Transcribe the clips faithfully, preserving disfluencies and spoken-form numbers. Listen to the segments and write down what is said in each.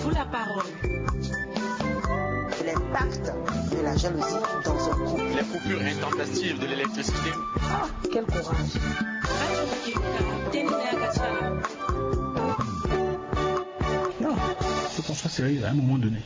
Pour la parole. L'impact de la jalousie dans un couple. Les coupures intempestives de l'électricité. Ah, quel courage. Non, faut qu'on soit sérieux à un moment donné.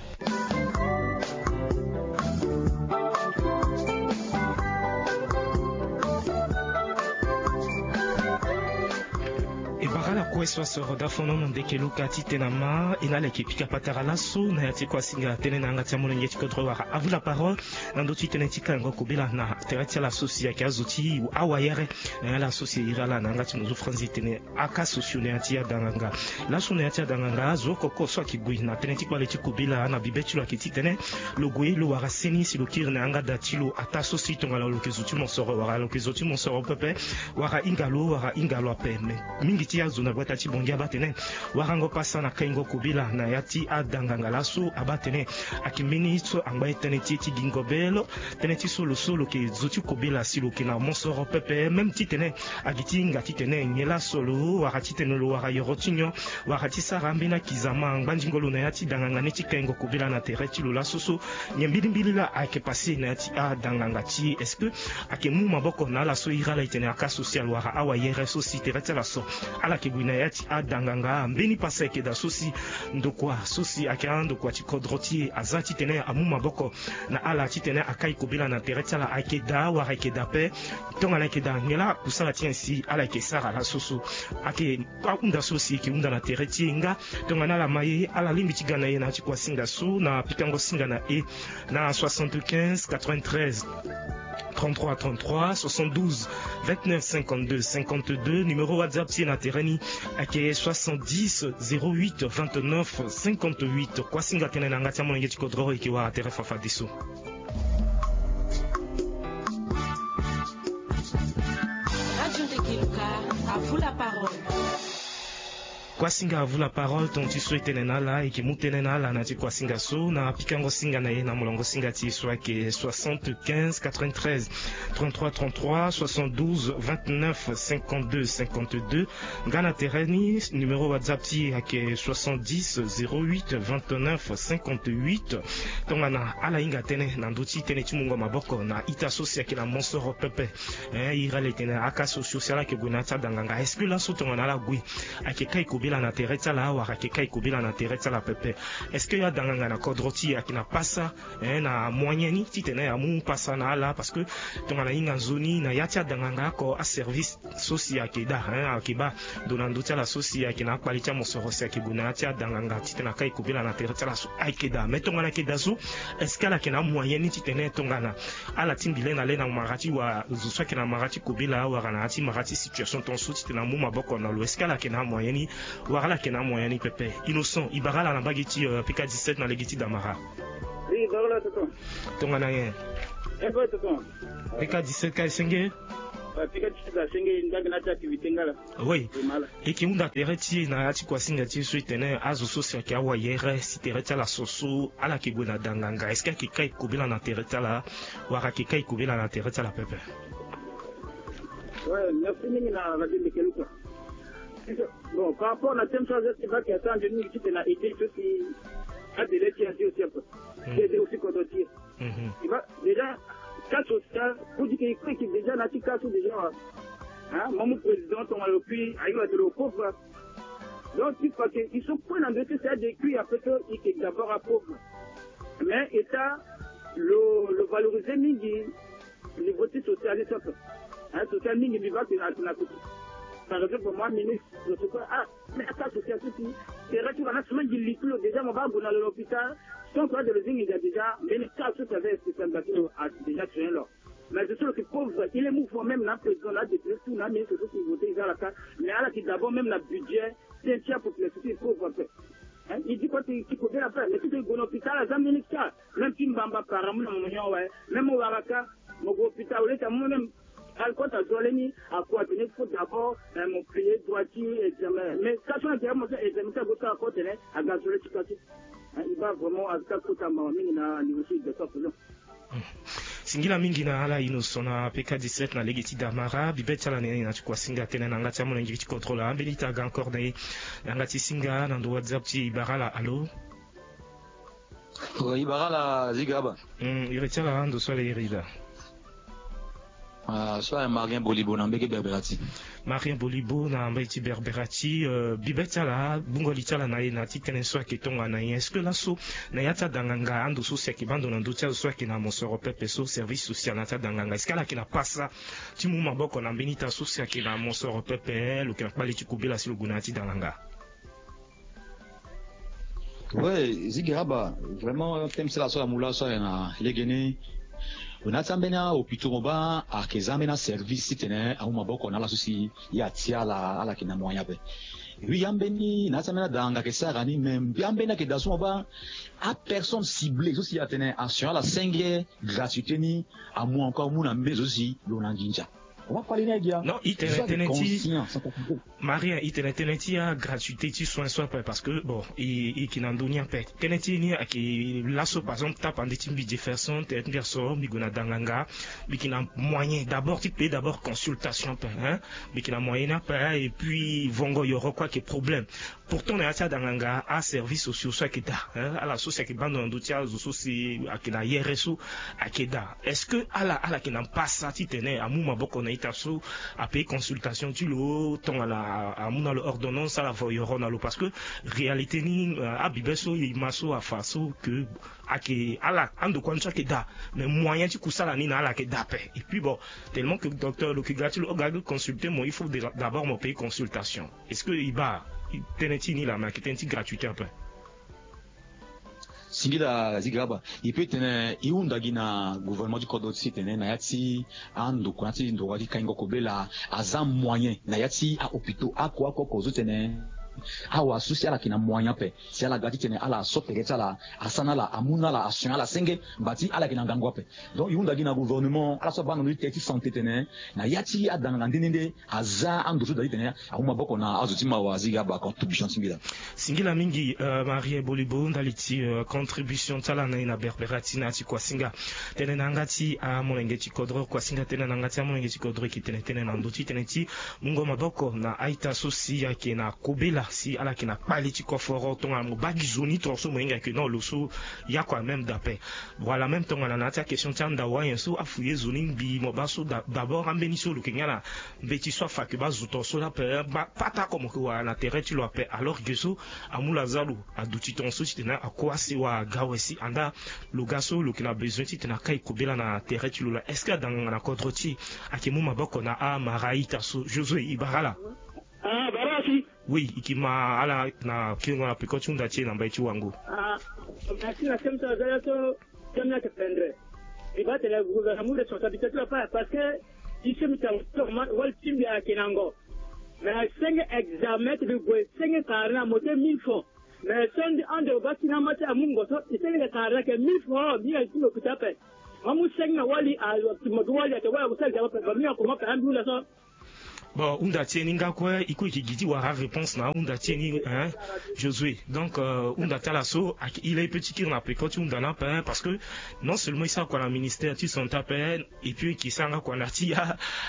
E bara ala kue so asoro da fono na ndeke luka titene ama e na ala yeke pika patara laso na ya ti kuasinga tënë na yanga ti amolenge ti kodro wala avu la parole. Na ndö ti tënë ti kaingo kobela na tere ti ala so si ayeke azo ti awayere. Na ala so si e iri ala na yanga ti mozo franzi e tene aka sosio na ya ti adanganga. Laso na ya ti adanganga azo oko oko so ayeke gue na tënë ti kpale ti kobela na bibe ti lo ayeke titene lo gue lo wara seni si lo kiri na yanga da ti lo ataa so si tongana lo yeke zo ti mosoro wala lo yeke zo ti mosoro pepe, wala hinga lo wala hinga lo ape. Me mingi ti azo na gbata ti bongi abaa tene warango pasa na kaingo kobela na ya ti adanganga laso abaa tene ayeke mbeni so angba ye tënë ti e ti gingo be lo. Tënë ti so lo so lo yeke zo ti kobela si lo yeke na mosoro pepe même titene agi ti hinga titene nyen laso lo wara titene lo wara yoro ti nyon wara ti sara ambeni akizama ngbandingo lo na ya ti danganga ni ti kaingo kobela na tere ti lo laso so. Nyen mbilimbili laa ayeke pase na ya ti adanganga ti e? Est-ce que ayeke mu maboko na ala so iri ala e tene aka social wala awayere so si tere ti ala so ala yeke gue na ya ti adanganga? Mbeni pase ayeke daa so si ndokua so si ayeke andokua ti kodro ti e aza titene amu maboko na ala titene akai kobela na tere ti ala ayeke daa wala ayeke daa ape? Tongana ayeke daa nyen laa akusala ti nyen si ala yeke sara laso so? Ayeke ahunda so si e yeke hunda na tere ti e nga tongana ala ma ye ala lingbi ti ga na e na ya ti kuasinga so na pikango singa na e na soixante-quinze quatre-vingt-treize trente-trois trente-trois, soixante-douze vingt-neuf cinquante-deux cinquante-deux. Numéro WhatsApp ti e na tere ni ayeke soixante-dix zéro huit vingt-neuf cinquante-huit. Kuasinga tënë na yanga ti amolenge ti kodro e yeke wara tere fafadeso. Radio Ndeke Luka, à vous la parole. Kuasinga avu la parole, tonga ti so e tene na ala e yeke mu tënë na ala na ya ti kuasinga so na pikango singa na e na molongo singa ti e so ayeke soixante-quinze quatre-vingt-treize trente-trois trente-trois, soixante-douze vingt-neuf cinquante-deux cinquante-deux. Nga na tere ni numéro WhatsApp ti e ayeke soixante-dix zéro huit vingt-neuf cinquante-huit. Tongana ala hinga tënë na ndö ti tënë ti mungo maboko na ita so si ayeke na mosoro pepe. Hein, iri ala e tene aka so si ala yeke gue na ya ti adanganga, est-ce que laso tongana ala gue ayeke kai kobela na tere ti ala wala ayeke kai kobela na tere ti ala pepe? Est-ce que adanganga na kodro ti e ayeke na pasa, hein, na moyen ni titene amu pasa na ala? Parce que tongana hinga nzoni na ya ti adanganga oko aservice so si ayeke daa, hein, ayeke baa ndo na ndö ti ala so si ayeke na akpali ti amosoro si ayeke gue na ya ti adanganga titene akai kobela na tere ti ala so ayeke daa. Mais tongana ayeke daa so, est-ce que ala yeke na amoyen ni titene tongana ala tingbi le na le na mara ti wa zo so ayeke na mara ti kobela wala na ya ti mara ti situation tonga so titene amu maboko na lo, est-ce que ala yeke na amoyen ni wala ala yeke na amoyen ni pepe? Innocent, e bara ala na mbage ti, euh, P K dix-sept na lege ti Damara. Oui, bara ala tonton. Tongana nyen? Eh, oui, tonton. P K dix-sept ka e senge? Ouais, P K dix-sept asenge, nga gi na ya ti activité nga laa. Oui. E yeke hunda tere ti e na ya ti kuasinga ti e so e tene azo so si ayeke awayere si tere ti ala so so ala yeke gue na danganga, est-ce que ayeke kai kobela na tere ti ala wala ayeke kai kobela na tere ti ala pepe? Ouais, merci mingi na Radio Ndeke Luka. Bon, par rapport na thème so aza ti baa, ayeke asa nzoni mingi titene a aider so si adele ti e azi aussi ape. Hmm. Ti aider aussi kodro ti e. Mhm. E baa déjà cas social, pour dire que il faut que déjà na ti cas so déjà, hein, mo mu président tongana lo kui aye lo atene lo pauvre. Donc il faut que il so kue na ndo ti si ade kui ape so il que d'abord apauvre. Mais état lo, lo valoriser mingi niveau ti social ni so ape. Hein, social mingi mbi baa que na, na, par exemple moi ministre, je sais pas, ah, mais ata association ti tere ti lo ana sima ngi li ti lo déjà mo baa gue na lo na hôpital. Donc ade lo zi nginza déjà mbeni cas so ti aza spécial baa ti lo a déjà soigner lo. Mais je suis le plus pauvre, il est mouvant même na président na député tout na ministre so ti voter eza la cas. Mais ala ti d'abord même na budget ti ti apopulation ti pauvre ape. Hein, il dit quoi ti ti kobela ape mais ti gue na hôpital aza mbeni cas. Même ti mbamba para mu na mo nyon awe. Même mo wara cas mo gue hôpital au lieu ti amu même. Alcool ta zo leni. Akua tene il faut d'abord, eh, mo payer droit ti examen mais station na tere mo so examen ti ago so akua tene aga zo le ti kua ti. Hein, il va vraiment aza kota mawa mingi na niveau ti examen. Singila mingi na ala Innocent na P K dix-sept na lege ti Damara. Bibe ti ala na ye na ti kua singa tënë na yanga ti amolenge ti kodro laa mbeni ita aga encore na ye na yanga ti singa na ndo WhatsApp ti e. E bara ala, allô? Ibara la ziga aba. Iri ti ala ando so ala iri daa. So ala marien bolibo na mbege berbera ti. Marien bolibo na mbege ti berbera ti. Bibe ti ala bungo li ti ala na ye na ti tënë so ayeke tongana nyen? Est-ce que laso na ya ti adanganga ando so si ayeke bando na ndö ti azo so ayeke na mosoro pepe so service social na ya ti adanganga est-ce que ala yeke na pasa ti mu maboko na mbeni ita so si ayeke na mosoro pepe lo yeke na kpale ti kobela si lo gue na ya ti danganga? Ouais, zigeraba. Vraiment thème ti ala so amu laso aye na legeni. Lo na ya ti ambeni ahopito mo baa ayeke za ambeni aservice titene amu maboko na ala so si ye atia ala ala yeke na moyen ape. Wi ambeni na ya ti ambeni adanganga ayeke sara ni me mbi ambeni ayeke daa so mo baa apersonne cible so si atene asion ala senge gratuité ni amu encore amu na mbeni zo so si lo na nginza. Wa kpali ni aye gia. Non, i tene tënë ti maria i tene tënë ti agratuité ti soin so ape parce que bon i i yeke na ndö ni ape. Tënë ti ni ayeke laso par exemple tapande ti mbi jefferson tënë ti mbi aso mbi gue na danganga. Mbi yeke na moyen d'abord ti paye d'abord consultation ape hein. Mbi yeke na moyen ni ape et puis vongo yoro kue ayeke problème. Pourtant na ya ti adanganga aservice sociaux so ayeke daa hein ala so si ayeke bando na ndö ti azo so si ayeke na yere so ayeke daa est-ce que ala ala yeke na mpasa titene amu maboko na ita so apaye consultation ti lo tongana amu na lo ordonnance ala voyoro na lo parce que réalité ni abibe so e ma so afa so ke ayeke ala andokua ni so ayeke daa. Mais moyen ti kusala ni na ala ayeke daa ape et puis bon tellement ke docteur lo yeke ga ti lo o ga ti consulter mo il faut d'abord mo paye consultation. Est-ce que e baa tënë ti ni laa me ayeke tënë ti gratuité ape? Singila ziga aba. E peut tene e hunda gi na gouvernement ti kodro ti tene na ya ti andokua ti ndokua ti kaingo kobela aza moyen na ya ti ahopito ako ako oko zo tene awa so si ala yeke na moyen ape si ala ga titene ala so tere ti ala asara na ala amu na ala asion ala senge. Mba ti ala yeke na ngangu ape. Donc e hunda gi na gouvernement ala so abaa na ndö ti tere ti santé tene na ya ti adanganga nde nde nde aza ando so daa titene amu maboko na azo ti mawa azi ga baa contribution ti mbi laa. Singila mingi marie bolibo ndali ti contribution ti ala na ye na berbera ti na ya ti kuasinga. Tënë na yanga ti amolenge ti kodro kuasinga tënë na yanga ti amolenge ti kodro eke tene tënë na ndö ti tënë ti mungo maboko na a-ita so si ayeke na kobela si ala yeke na kpale ti koforo tongana mo baa gi zo ni tongana so mo hinga yeke non lo so. Ya kua même dape. Voilà même tongana na ya ti akestion ti andau ayen so afu ye zo ni mbi mo baa so d'abord ambeni so lo yeke nga na mbeti so afa yeke baa zo tonga so lape baa pata oko mo yeke wara na tere ti lo ape alors ge so amu lo aza lo aduti tonga so titene ako asewa aga awe si andaa lo ga so lo yeke na bezoin titene akai kobela na tere ti lo laa est-ce que adanganga na kodro ti e ayeke mu maboko na amara a-ita so josué e bara ala. Oui e ke ma ala na kiringo na peko ti hunda ti e na mbai ti wango. Merci na seme so aza ya so seme ni ayeke pendre. Mbi baa tene gouvernement amu responsabilité ti lo ape parce que ti seme ti ango ti lo ma wali ti mbi ayeke na ngo. Mais senge examen ti mbi gue senge kara ni amo ti mille francs. Mais so ande lo baa ti na ama ti amu ngo so e senge kara ni ayeke mille francs mbi hinga ti mbi hôpital ape. Amu senge na wali a mo gi wali ayeke wali ako sara examen ape ba mbi hinga koma ape ambi hunda so. Bon hunda ti e ni nga kue e kue e yeke gi ti wara aréponse na ahunda ti e ni hein. Josué donc hunda ti ala so ayeke ila e pe ti kiri na peko ti hunda ni ape parce que non seulement e sara kua na ministère ti santé ape. Et puis e yeke sara nga kua na ti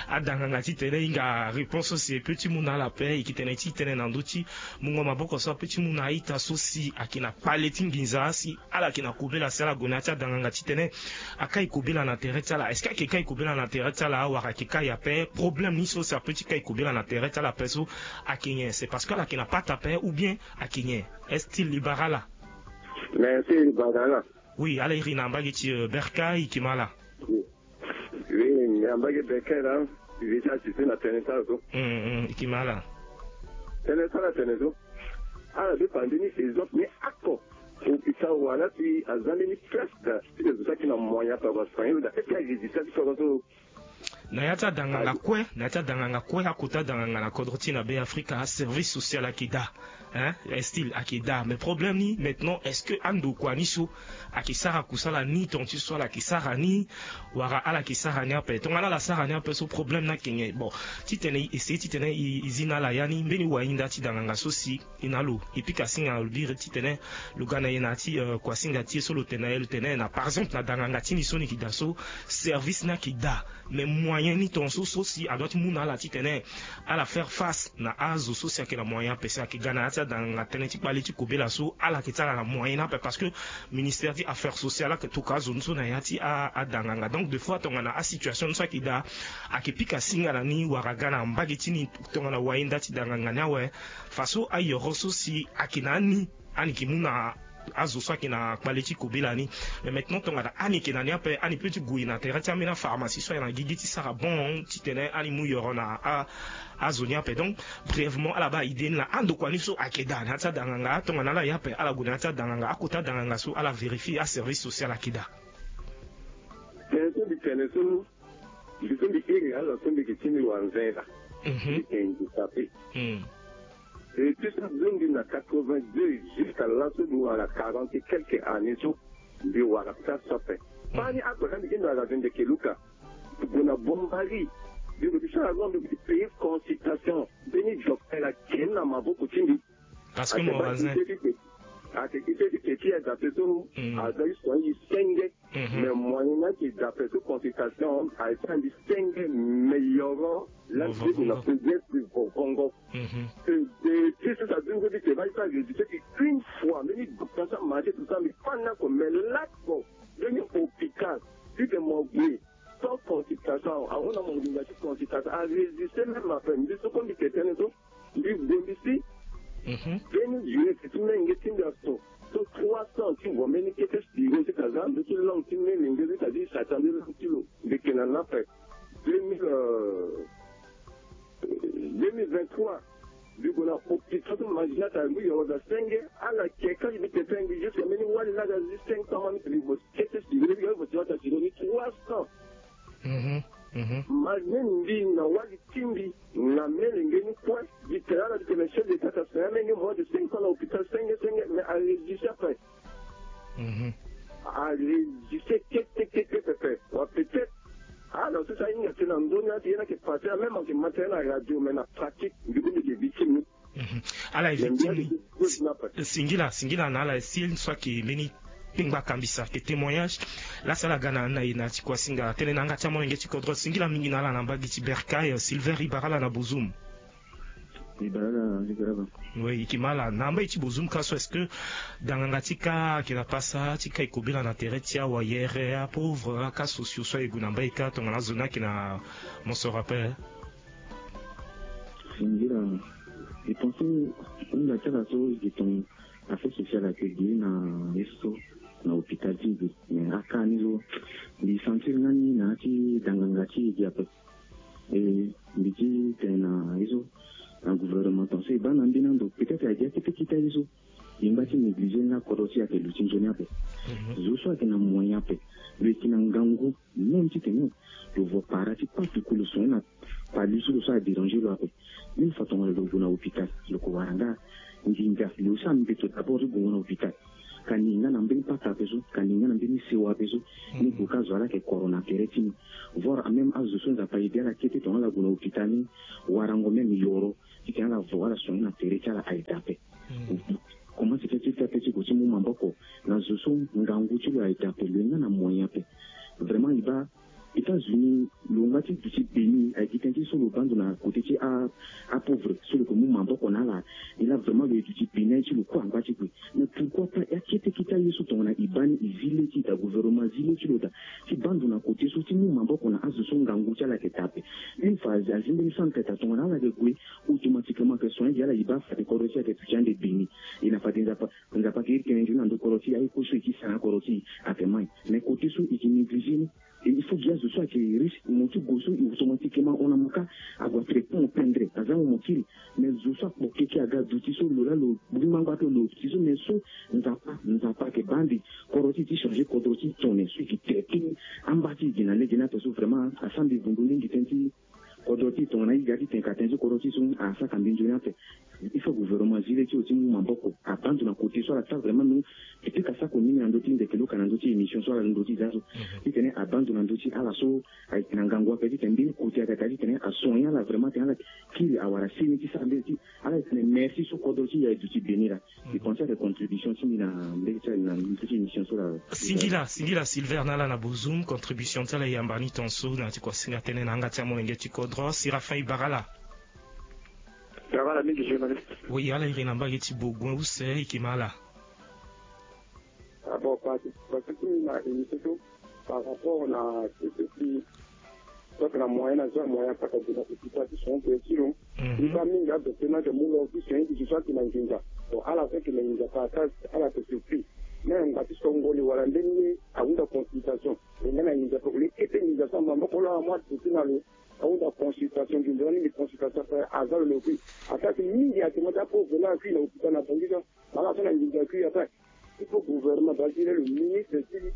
adanganga titene e hinga réponse so si e pe ti mu na ala ape e yeke tene ti tene na ndö ti mungo maboko so ape ti mu na a-ita so si ayeke na kpale ti nginza si ala yeke na kobela si ala gue na ya ti adanganga titene akai kobela na tere ti ala est-ce que ayeke kai kobela na tere ti ala wala ayeke kai ape problème ni so si ape ti kai kobela na tere ti ala ape so ayeke nyen c'est parce que ala yeke na pata ape ou bien ayeke nyen? Est-ce ti libara ala? Mais ti libara ala. Oui ala iri na mbage ti berka e yeke ma ala. Oui na mbage berka la. E yeke ti asiste na tënë ti ala so. E yeke ma ala. Tënë ti ala tene so ala dépend ni exemple ni ako. Hôpital wala si aza mbeni presque ti les autres qui na moyen par basangelo da est-ce que aregistre ti kodro so? Na ya ti adanganga kue na ya ti adanganga kue akota adanganga na kodro ti na be afrika aservice social ayeke daa. Hein style ayeke daa mais problème ni maintenant est-ce que andokua ni so ayeke sara kusala ni tonga ti so ala yeke sara ni? Wala ala yeke sara ni ape tongana ala sara ni ape so problème ni ayeke nyen bon? Titene e essayer titene e zi na ala ya ni mbeni wahinda ti danganga so si e na lo e pika singa na lo biri titene lo ga na e na ya ti kuasinga ti e so lo tene na e lo tene na par exemple na danganga ti ni so ni yeke daa so service ni ayeke daa. Mais moyen ni tonga so so si adua ti mu na ala titene ala faire face na azo so si ayeke na moyen ape si ayeke ga na ya ti Danganga tënë ti kpale ti kobela so ala yeke ti ala na moyen ni ape parce que ministère ti affaires sociales ayeke tokua azo ni so na ya ti adanganga. Donc des fois tongana asituation ni so ayeke daa ayeke pika singa na ni wala aga na mbage ti ni tongana wahinda ti danganga ni awe. Faso ayoro so si ayeke na ani, ani yeke mu na azo so ayeke na kpale ti kobela ni. Mais maintenant tongana ani yeke na ni ape ani peut ti gue na tere ti ambeni apharmacie so ayeke na gigi ti sara bon titene ani mu yoro na azo ni ape. Donc brièvement ala baa idée ni laa andokua ni so ayeke daa na ya ti adanganga tongana ala ye ape ala gue na ya ti adanganga akota danganga so ala vérifier aservice social ayeke daa. Tene so mbi tene so mbi so mbi iri ala so mbi yeke ti mbi wara nzena. Mbi yeke handicapé. Et ti so mbi na quatre-vingt-deux jusqu'à laso mbi wara quarante et quelques années so mbi wara place so ape. Fani akpaka mbi ti mbi wara vende keluka. Gue na bombari. Mbi gue ti sara zo mbi gue ti payer consultation. Mbeni docteur ake ni na maboko ti mbi. Parce que mo wara nzena. Ake ite ti ke ti aza ape so aza ti soin ye senge. Mais moyen ni ayeke daa ape so consultation ayeke ti andi senge meilleur. Laa mbi na progrès ti vovongo. Ti so sa dungo ti te ba ye so areduce ti une fois mbeni docteur so amarché tout ça mbi fani oko mais lako mbeni hôpital ti ke mo gue sans consultation ahunda mo nginza ti consultation areduce même ape mbi so ko mbi ke tënë so. Mbi bongbi si mbeni durée ti menge ti mbi aso so trois cents ti vo mbeni kete siro ti kaza ndo ti langue ti mbi menge ti kaza ti sata nde langue ti lo mbi yeke na nape deux mille deux mille vingt-trois. Mbi gue na hôpital so mangina ta mbi yoro za senge ala ke kâ mbi tete mbi jusque mbeni wali laa za zi cinq cents ma mbi tene mbi vo kete siro mbi yoro vo ti wata siro ni trois cents. Malgré mbi na wali ti mbi na mele nge ni kue. Mbi tene ala mbi tene chef d'état ta sene ameni moins de cinq cents na hôpital senge senge mais areduce ape. Areduce kete kete pepe wa peut-être ala so si ahinga tënë na ndö ni ati ye ni ayeke passé amême ayeke ma tënë na radio mais na pratique mbi kue mbi yeke victime ni. Ala effectivement. Singila singila na ala si so ayeke mbeni kpengba kambisa ayeke témoignage. Laa si ala ga na ni na e na ti kuasinga tënë na yanga ti amolenge ti kodro singila mingi na ala na mbage ti bercail silver e bara ala na bozum. E bara ala. Oui e ke ma ala na mbage ti bozum ka so est-ce que danganga ti ka ayeke na pasa ti ka e kobela na tere ti awayere apauvre aka sociaux so aye gue na mbage ka tongana azo ni ayeke na mosoro ape. Singila. E pense hunda ti ala so e ke tongana affaire sociale ayeke gi na ye so na hôpital ti gi mais aka ni so mbi sentir nga ni na ya ti danganga ti e gi ape. E mbi ti tene na ye so na gouvernement ton so e baa na mbeni ando peut-être ayeke gi akete kita ye so. E ngba ti négligé ni laa kodro ti e ayeke luti nzoni ape. Zo so ayeke na moyen ape lo yeke na ngangu même titene lo vo para ti kpa tuku lo soin na kpali so lo so adéranger lo ape. Une fois tongana lo gue na hôpital lo ko wara nga nginza lo so ambeto d'abord ti gue na hôpital. Ka ni nga na mbeni pata ape so ka ni nga na mbeni sewa ape so. Ni gue ka zo ala yeke koro na tere ti ni voire même azo so nzapa aye be ala kete tongana ala gue na hôpital ni warango même yoro titene ala vo ala soin na tere ti ala aye dape. Comment ti fais ti fais ape ti gue ti mu maboko na zo so ngangu ti lo aye dape lo ye nga na moyen ape. Vraiment e baa États-Unis lo nga ti duti beni aye gi tënë ti so lo baa ndo na côté ti apauvre so lo yeke mu maboko na ala. E laa vraiment lo ye duti beni aye ti lo kue angba ti gue. Mais pourquoi pas akete kita ye so tongana e baa ni e zi le ti e daa gouvernement azi le ti lo daa ti baa ndo na côté so ti mu maboko na azo so ngangu ti ala yeke daa ape. Une fois azi mbeni centre daa tongana ala yeke gue automatiquement ayeke soin gi ala e baa fade kodro ti e ayeke duti ande beni. E na fade nzapa nzapa ayeke iri tënë nzoni na ndö kodro ti e aye kue so e ti sara na kodro ti e ayeke mai. Mais côté so e yeke négligé ni. Et il faut gi azo so ayeke riche mo ti gue so e automatiquement hon na mo kâ. Ague atraitement mo pendre aza mo mo kiri. Mais zo so akpo keke aga duti so lo laa lo gbi ngbangba ape lo duti so mais so nzapa nzapa ayeke baa mbi kodro ti e ti changer kodro ti e tongana so e yeke traité amba ti e gi na lege ni ape so vraiment asara mbi vundu ni gi tënë ti kodro ti e tongana e ga ti tene ka tënë ti kodro ti e so asara ka mbi nzoni ape. Il faut gouvernement azi le ti lo ti mu maboko abaa ndo na côté so ala sara vraiment no. Ti ka sako ni na ndö ti ndeke lo ka na ndö ti émission so ala ndö ti za so titene abaa ndo na ndö ti ala so ayeke na ngangu ape titene mbeni côté ayeke daa titene asoigner ala vraiment titene ala kiri awara seni ti sara mbeni ti ala titene merci so kodro ti e aye duti beni laa. E pense ayeke contribution ti mbi na mbeni ti ala na ndö ti émission so laa. Singila singila Silver na ala na bozum contribution ti ala e yamba ni tongaso na ya ti kuasinga tënë na yanga ti amolenge ti kodro Séraphin e bara ala. Travail mingi journaliste. Oui, ala iri na mbage ti Bourgoin use, ike ma ala. Ah bon, parce que na émission so par rapport na cc, soit na moyen na soit moyen paka dina ko kita ti son pe siro. Ni ba mingi a docteur na de mulo ki son ki soit na nginza. Bon, ala fait que na nginza pa ka ala te surpris. Mais on va ti songoli wala ndenge a wunda consultation. Ndenge na nginza ko le kete nginza sa mambo ko la moi ti na lo. Aunda consultation, nginza ni consultation pe aza lo loki. Ata ti mingi ati mata po vela kui na hôpital na Bangui. Bala so na nginza kui ata. Il faut gouvernement d'Algérie, le ministre de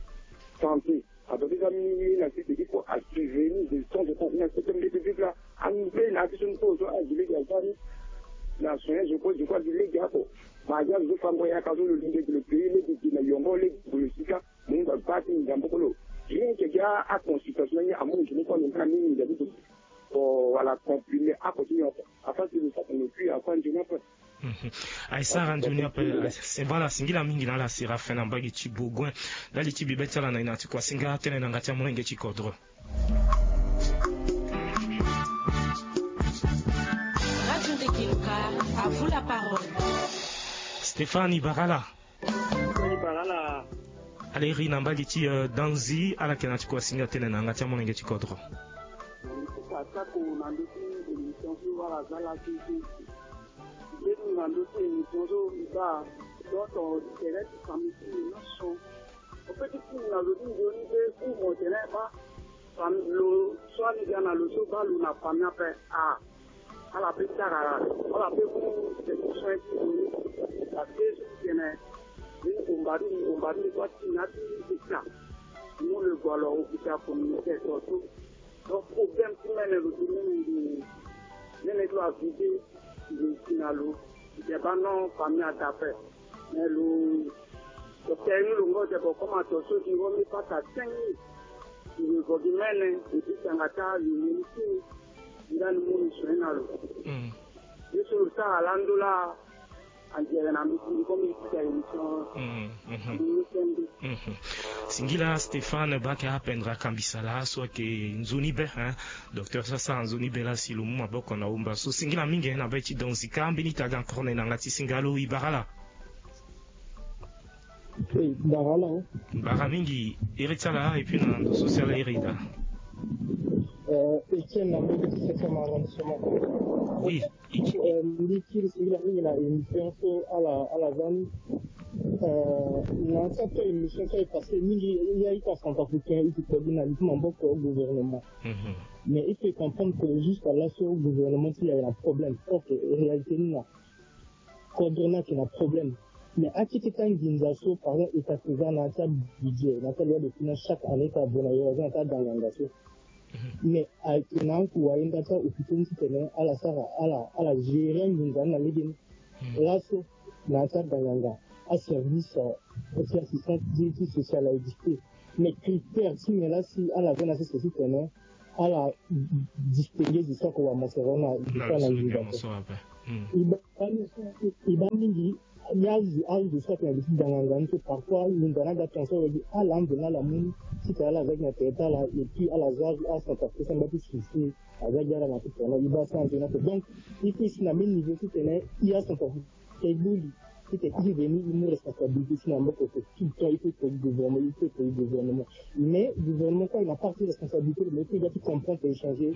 santé. Ata ti za mingi na ti il faut assurer ni de son de confiance. C'est comme des publics là. Ambe na ti son po so a gile ga zani. Na soin je crois je crois gile ga ko. Ma ya zo fango ya ka zo lo lenge le pays le di na yongo le di le sika. Mungu abati nzambe kolo. Bien que ya a consultation ni amu nzambe kolo na mini nzambe kolo. Pour voilà comprimé a continuer à faire de ça pour ne plus avoir de n'importe. Aisara nzoni ape. Voilà, singila mingi na ala Séraphin na mbage ti Bourgoin. Ndali ti bibe ti ala na ina ti kua singa tene na nga ti amolenge ti kodro. Radio Ndekiluka, à vous la parole. Stéphane Ibarala. Ala iri na mbage ti, euh, Danzi, ala yeke na ti kua singa tene na yanga ti amolenge ti kodro. Atako na ndö ti émission so ala za laa ti ti mbeni na ndö ti émission so mbi baa. Donc tere ti famille ti mbi nyonso. Au fait ti mbi na lo ti nzoni pe ti mo tene baa. Famille lo so ani ga na lo so baa lo na famille ape. Ah. Ala pe sara ala pe mu solution ti lo ni. Parce que so ti tene ni omba ni omba ni kua ti na ti ita. Mu le gua lo hôpital communautaire so so. Donc problème ti mene lo ti mene ngi mene ti lo avide lo ti na lo. Ti te ba non famille ada ape. Mais lo docteur ni lo ngo te bo comme ato so ti ngo mi pata cinq mille. Lo vo gi mene lo ti tanga ta lo ni ti. Nga ni mu ni soin na lo. Ye so lo sara lando laa. Angere na mbi ti mbi komi ti ta émission. Mbi ni sende. Singila Stéphane bake apendre akambisa laa so ayeke nzoni be, hein. Docteur so asara nzoni be laa si lo mu maboko na omba so singila mingi na be ti donzi ka mbeni taga encore na yanga ti singa lo ibara laa. Bara mingi iri ti ala et puis na ndo so si ala iri daa. Etienne na mbege ti septième arrondissement. Oui. Mbi kiri singila mingi na émission so ala ala za ni. Na sa to émission so e passé mingi ya ita centrafricain iti kpogbi na li ti maboko gouvernement. Mais il faut comprendre que jusqu'à là so gouvernement ti ya na problème. Ok, réalité ni na kodro ni ayeke na problème. Mais akete ti anginza so par exemple e ta ti za na ya ti abudget na ya ti aloi de finance chaque année ti avo na yo aza na ya ti aganganga so. Mais ayeke na aku wayenda ti ahôpitaux ni titene ala sara ala ala gérer anginza ni na legeni. Laso na ya ti aganganga aservice ti assistance ti ti social aye dicté. Mais critère ti me laa si ala ve na sese titene ala distinguer zo so ako wa mosoro na zo so ala nginza ape. E baa mingi ni azo azo so ayeke na li ti danganga ni so parfois nginza ni aga tension lo gi ala ande na ala mu ni titene ala za gi na tere ti ala et puis ala za acentrafricain ti sese aza gi ala na ti tene e baa so ande ni ape. Donc il faut si na même niveau titene e acentrafricain e boli titene e veni e mu responsabilité ti na maboko so tout le temps il faut que gouvernement il faut que gouvernement. Mais gouvernement kue na part ti responsabilité lo mais il faut ga ti comprendre et changer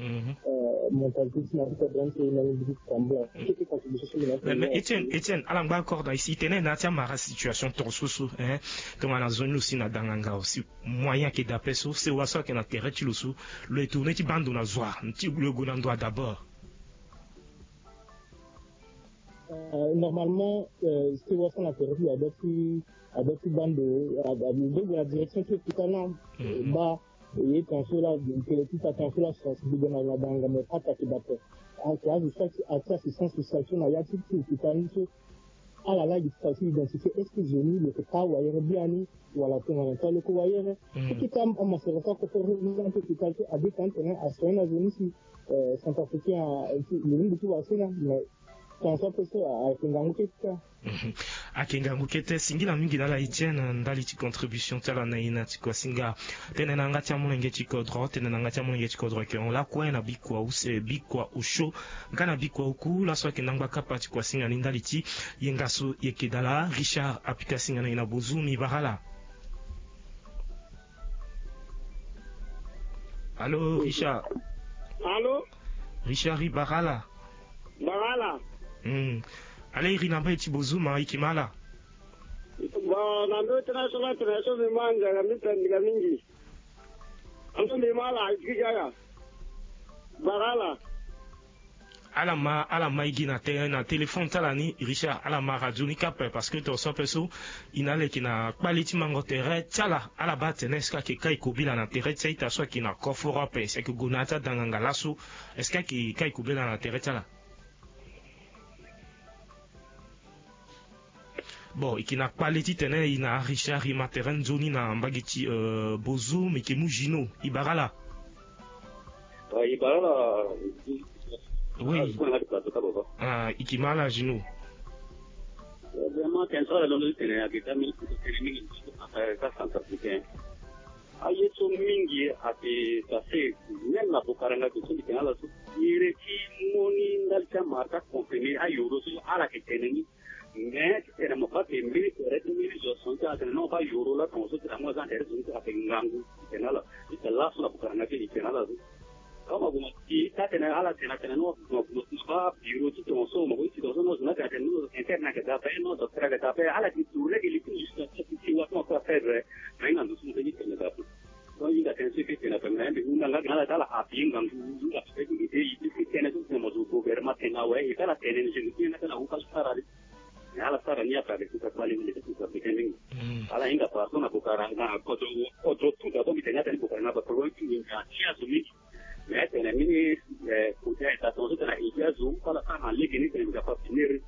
mentalité ti na ti kodro ni so e na ni mbi ti tambula. Kete contribution so mbi na ti mais Etienne Etienne ala ngba accord na e si e tene na ya ti amara situation toro so so hein. Tongana zo ni lo si na danganga aussi moyen ayeke daa ape so sewa so ayeke na tere ti lo so lo e tourner ti baa ndo na zo wa ti lo e gue na ndo wa d'abord. Normalement sewa so na tere ti lo adoit ti adoit ti baa ndo lo doit gue na direction ti hôpital ni. Baa e ye tension laa donc ti ta tension laa sensibiliser na danganga mais pas taki bape. Ayeke azo so ayeke assistance sociale so na ya ti ti hôpital ni so ala laa gi ti ta aussi identifier est-ce que zo ni lo yeke taa wayere biani wala tongana taa lo yeke wayere. Ti ta amasoro so ako fo revenir na ti hôpital so adépend tene asoin na zo ni si centrafricain lo ni lo ti wara so ni na mais Ayeke ngangu kete. Ayeke ngangu kete. Singila mingi na ala Etienne na ndali ti contribution ti ala na e na ti kuasinga. Tene na yanga ti amolenge ti kodro, tene na yanga ti amolenge ti kodro ayeke hon lakue na bikua use, bikua osio nga na bikua oku. Laso ayeke ndangba kapa ti kuasinga ni ndali ti yenga so e yeke dala. Richard apika singa na e na bozu, mi bara ala. Allô, Richard. Allô. Richard, i bara ala. Bara ala. Hmm. Ala iri na mbai ti bozu ma i yeke ma ala. Bon, na ndo international international mbi ma nzara mbi pendika mingi. Anto mbi ma ala i kiri ala. Bara ala. Ala ma, ala ma e gi na te, na téléphone ti ala ni, Richard, ala ma radio ni kâ ape, parce que tongaso ape so e na ala e yeke na kpale ti mango tere ti ala. Ala baa atene est-ce que ayeke kâ e kobela na tere ti a-ita so ayeke na koforo ape, si ayeke gue na ya ti adanganga laso, est-ce que ayeke kâ e kobela na tere ti ala? Bon, e yeke na kpale titene e na Richard e ma tere nzoni na mbage ti, euh, bozu, mbi yeke mu Gino, i bara ala. Ah, i bara ala. Oui. Ah, i bara ala. Ah, i yeke ma ala Gino. Eh, vraiment, tene so ala londo ti tene ayeke daa mingi, tene mingi, eh, ka centrafricain. Aye so mingi ayeke passé, même na Bokaranga so mbi tene na ala so, iri ti moni ndali ti amara ti aconfirmer ayoro so ala yeke tene ni. Mais ti tene mo baa ke mbeni tere ti mbeni zo so ti ala tene non, baa yoro la tongaso ti la mo aza na tere ti zo ni ti ala ayeke ngangu ti tene na ala. Ti tene laso na Bokaranga ti e tene na ala so. Kâ mo gue mo ti tene ala tene atene non, mo gue mo ti baa biro ti tongaso, mo gue ti tongaso non, zo ni atene atene non, interne ayeke daa ape, non, docteur ayeke daa ape, ala yeke tourner gi li ti jusqu'à ti ti wa ti mo ape afaible. Mais hinga ndo so mo tene ti tene daa ape. Donc hinga tënë so e ke tene ape, mais mbi hunda nga gi na ala ti ala appuyer ngangu, hinga ape ti gi te e ti tënë so ti tene mo zo gouvernement tene awe, e ti ala tene ni, je me tiens nga ti ala hu ka so sara ni. Mais ala sara ni ape avec tout sa kpale ni, tout sa pete mingi. Mm. Ala hinga partout na Bokaranga, na kodro, kodro tout d'abord, mbi tene ni atene Bokaranga, ba problème ti nginza ti azo mingi. Mais atene mini, eh, kote ayeke daa tongaso tene ayeke azo, ala sara na lege ni tene mbi ga fa finir.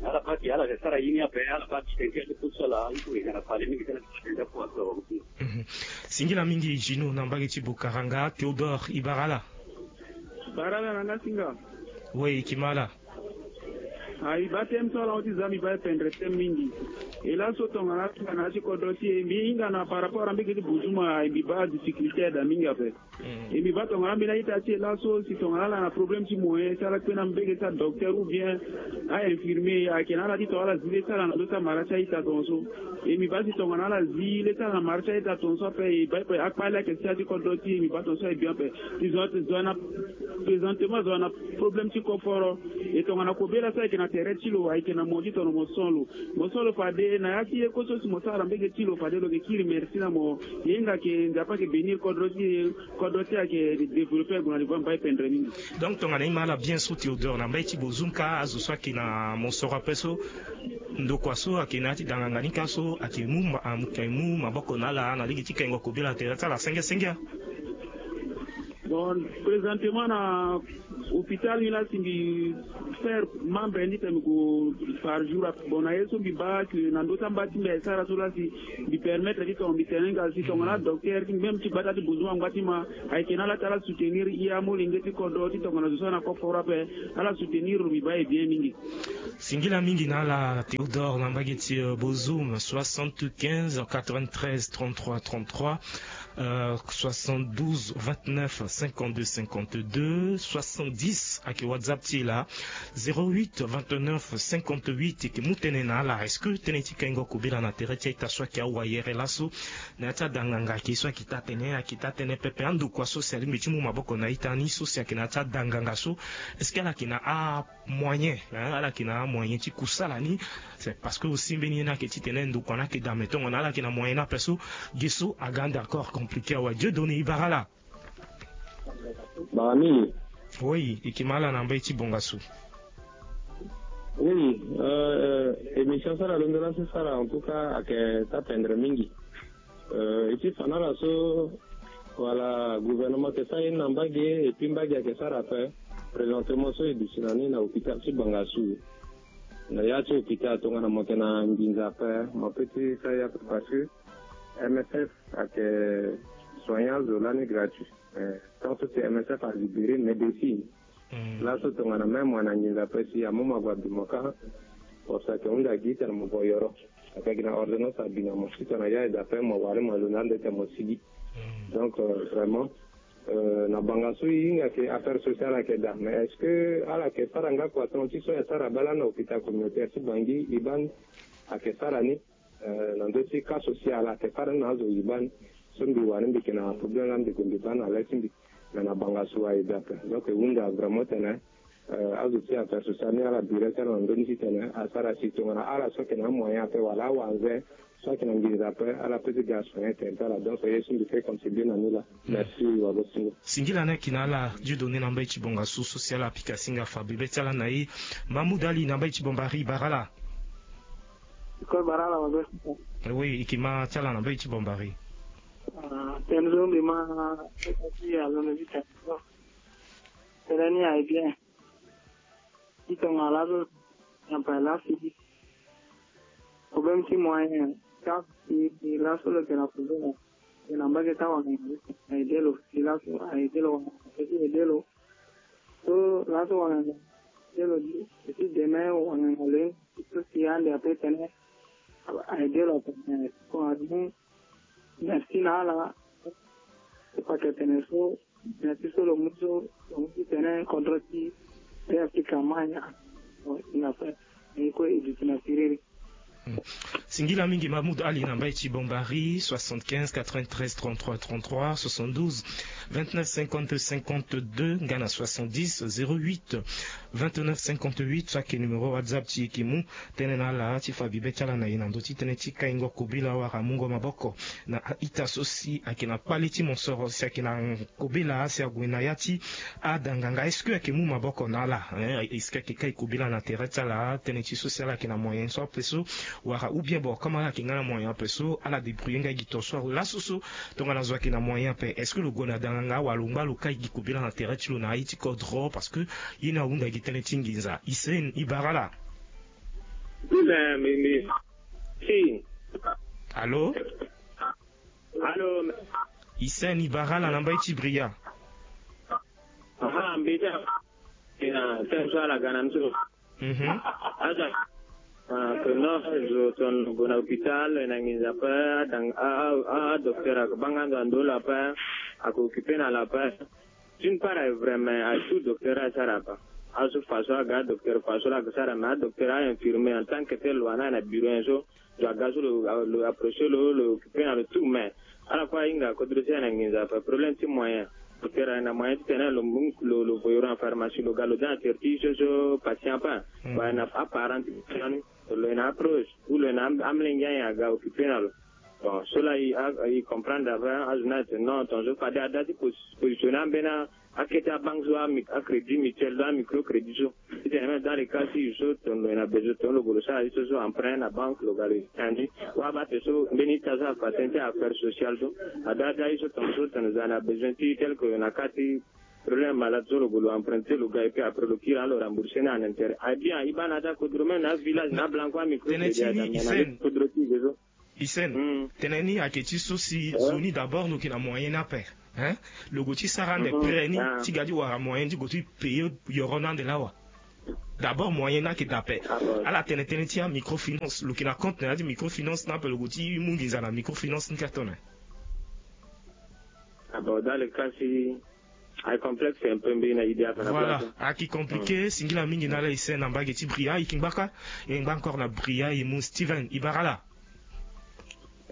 Mais ala baa ti ala yeke sara ye ni ape, ala baa ti tene ti azo tout so ala, il faut e ga na kpale mingi tene tene ti azo. Mhm. Singila mingi Gino na mbage ti Bokaranga. Théodore, i bara ala. Bara ala na nga singa. Oui, e yeke ma ala. Ah, e baa tënë so ala hon ti za, mbi baa e pendre tënë mingi. E laso tongana ala hinga na ya ti kodro ti e, mbi hinga na par rapport na mbage ti Buzuma, e mbi baa difficulté ayeke daa mingi ape. Mm. E mbi baa tongana ambeni a-ita ti e laso, si tongana ala na problème ti moyen, si ala kpe na mbage ti adocteur ou bien a-infirmier, ayeke na ala ti tongana ala zi le ti ala na ndö ti amara ti a-ita tongaso. E mbi baa si tongana ala zi le ti ala na mara ti a-ita tongaso ape, e baa e pe akpale ayeke si a ti kodro ti e, e mbi baa tongaso ayeke bien ape. E zo, zo na, présentement zo na problème ti koforo. E tongana kobela so ayeke na tere ti lo, ayeke na mo ti tono mo so lo. Mo so lo fade na ya ti ye kue so si mo sara na mbage ti lo, fade lo yeke kiri merci na mo. Ye hinga ayeke Nzapa ayeke bénir kodro ti e, kodro ti e ayeke développer ague na niveau mbai pendre mingi. Donc tongana e ma ala bien so Théodore, na mbai ti Bozum kâ azo so ayeke na mosoro ape so, ndokua so ayeke na ya ti danganga ni kâ so ayeke mu ma-, ayeke mu maboko na ala na lege ti kengo kobela tere ti ala senge senge. Bon, présentement na hôpital ni la si mbi faire membre ni tene mbi gue par jour. Bon, na ye so mbi baa que na ndö ti amba ti mbi ayeke sara so la si mbi permettre ti tongana mbi tene nga si tongana adocteur ti mbi même ti gbata ti Bozum angba ti ma ayeke na ala ti ala soutenir e amolenge ti kodro ti tongana zo so ana koforo ape, ala soutenir lo, mbi baa e bien mingi. Singila mingi na ala Théodore na mbage ti, euh, Bozum, soixante-quinze quatre-vingt-treize trente-trois trente-trois, euh, soixante-douze vingt-neuf cinquante-deux cinquante-deux, soixante-dix ayeke WhatsApp ti e laa, zéro huit vingt-neuf cinquante-huit. E yeke mu tënë na ala. Est-ce que tënë ti kengo kobela na tere ti a-ita so ayeke awayere laso na ya ti adanganga ayeke so ayeke taa tënë, ayeke taa tënë pepe? Andokua so si alingbi ti mu maboko na a-ita ni so si ayeke na ya ti adanganga so, est-ce que ala yeke na a moyen, hein, ala yeke na amoyen ti kusala ni. C'est parce que aussi mbeni ye ni ayeke titene ndokua ni ayeke daa, mais tongana ala yeke na moyen ni ape so, ge so aga ande encore compliqué awe. Dieu donné, e bara ala. Bara mingi. Oui, e yeke ma ala na mbage ti Bongasu. Oui, euh, émission so ala londo laso sara, en tout cas ayeke taa pendre mingi. Euh, e ti fa na ala so, wala gouvernement ayeke sara ye ni na mbage, et puis mbage ayeke sara ape. Présentement so e duti na ni na hôpital ti Bangassou. Na ya ti hôpital tongana mo yeke na nginza ape, mo peut ti sara ye ape parce que M S F ayeke soigner azo lani gratuit. Mais tant so si M S F alibéré médecine, Laso tongana même mo na nginza pe si amu mo ague abi mo kâ. Parce que ayeke hunda gi titene mo gue yoro. Ayeke gi na ordonnance abi na mo titene ya eda pe mo wara mo londo ande titene mo sigi. Donc vraiment, na banga so e hinga ke affaire sociale ayeke daa, mais est-ce que ala yeke sara nga kua tonga ti so e sara bala na hôpital communautaire ti Bangui? Iban ayeke sara ni na ndö ti cas social ayeke sara ni na azo iban. So mbi wani mbi yeke na problème la mbi gue mbi baa na le ti mbi. Mais na banga so aye daa ape. Donc e hunda vraiment titene azo ti affaire sociale ni ala bira ti ala na ndö ni titene asara si tongana ala so ayeke na amoyen ape wala awanze so ayeke na nginza ape ala peut ti ga asoigner tere ti ala. Donc ye so mbi peut contribuer na ni laa. Merci wagosingo. Singila ni ayeke na ala Dieudonné na mbai ti Bongassou so si ala pika singa fa bebe ti ala na e. Mahmoud Ali na mbai ti Bombari, e bara ala? Ko bara ala wagosingo. Oui, e yeke ma ti ala na mbai ti Bombari. Tënë so mbi ma ti alondo ti tene so, tënë ni aye bien. Ti tongana laso na paya laso ti problème ti moyen. Ka si laso lo yeke na problème, e na mbage ti awanganga, a aidé lo. Si laso a aidé lo, wanganga ape ti aidé lo. So laso wanganga aidé lo, si demain wanganga lo ye so si ande ape tene a aidé lo ape. Tongana ni merci na ala. Pakete tene so merci so lo mu so lo mu ti tene contre ti P F ti Kamanya. Bon, il n'a pas ni kue e duti na siriri. Singila mingi Mahmoud Ali na mbai ti Bombari, soixante-quinze quatre-vingt-treize trente-trois trente-trois, soixante-douze vingt-neuf cinquante cinquante-deux nga na soixante-dix zéro huit vingt-neuf cinquante-huit, so ayeke numéro WhatsApp ti e. E yeke mu tënë na ala ti fa bibe ti ala na e na ndö ti tënë ti kaingo kobela wala mungo maboko na a-ita so si ayeke na kpale ti mosoro si ayeke na kobela si ague na ya ti ada nganga. Est-ce que ayeke mu maboko na ala, hein? Est-ce que ayeke kai kobela na tere ti ala, tënë ti so si ala yeke na moyen so ape so, wala ou bien bon comme ala yeke nga na moyen ape so ala débrouiller nga gi ton so laso so tongana zo ayeke na moyen ape, est-ce que lo gue na ada nganga wala lo ngba lo kai gi kobela na tere ti lo na aye ti kodro? Parce que ye ni ahunda gi tënë ti nginza. Hissène, e bara ala? Allô? Allô? Hissène, e bara ala na mbai ti Bria? Aha, mbi ti na tënë so ala ga na ni so. Mhm. Aza. Ah, que non, zo tongana lo gue na hôpital, na nginza ape, adang-, a, a, a, docteur ayeke baa nga ndo na ndo lo ape, ayeke occupé na lo ape. D'une part aye vrai, mais aye tout docteur asara ape. Azo façon aga docteur façon lo ayeke sara, mais adocteur a infirmier en tant que tel lo wani aye na bureau nyen so. Lo aga so lo, lo approché lo, lo occupé na lo tout, mais ala kue ahinga kodro ti aye na nginza ape, problème ti moyen. Docteur aye na moyen titene lo mu, lo, lo voyé lo na pharmacie, lo ga lo de na tere ti so so patient ape. Bon, aye na aparent ti patient ni, lo yeke na aproche ou lo yeke na am-, amolenge anyen aga occupé na lo. Bon, so laa e, a, e comprendre ape, azo ni aye tene non, tongaso fade ada ti pos-, positionner ambeni akete abanque so, a mi-, acrédit mutuel so, amicrocrédit so. Titene même dans le cas si so tongana lo yeke na besoin, tongana lo gue lo sara ye so so emprunt na banque, lo ga lo yeke na ni. Wala abaa tene so mbeni ita so apatient ti affaire sociale so, ada ada ye so tongaso tongana zo ayeke na besoin ti tel que na cas ti problème malade so, lo gue lo emprunté, lo ga et puis après lo kiri na lo rembourser ni en intérêt. Aye bien, e baa na ada kodro même na avillage na ablanco, amicrocrédit, ada na kodro ti e so. Hissène, tënë ni ayeke ti so si zo ni d'abord lo yeke na moyen ni ape, hein? Lo gue ti sara ande prêt ni ti ga ti wara moyen ti gue ti payer yoro ni ande lawa. D'abord moyen ni ayeke daa ape. Ala tene tënë ti amicrofinance, lo yeke na compte na ya ti microfinance ni ape, lo gue ti mu nginza na microfinance ni kâ tone? Ah bon, dans le cas si aye complexe un peu, mbi na idée ape na place. Voilà, ayeke compliqué. Singila mingi na ala Hissène na mbage ti Bria. E yeke ngba kâ, e yeke ngba encore na Bria, e mu Steven, e bara ala?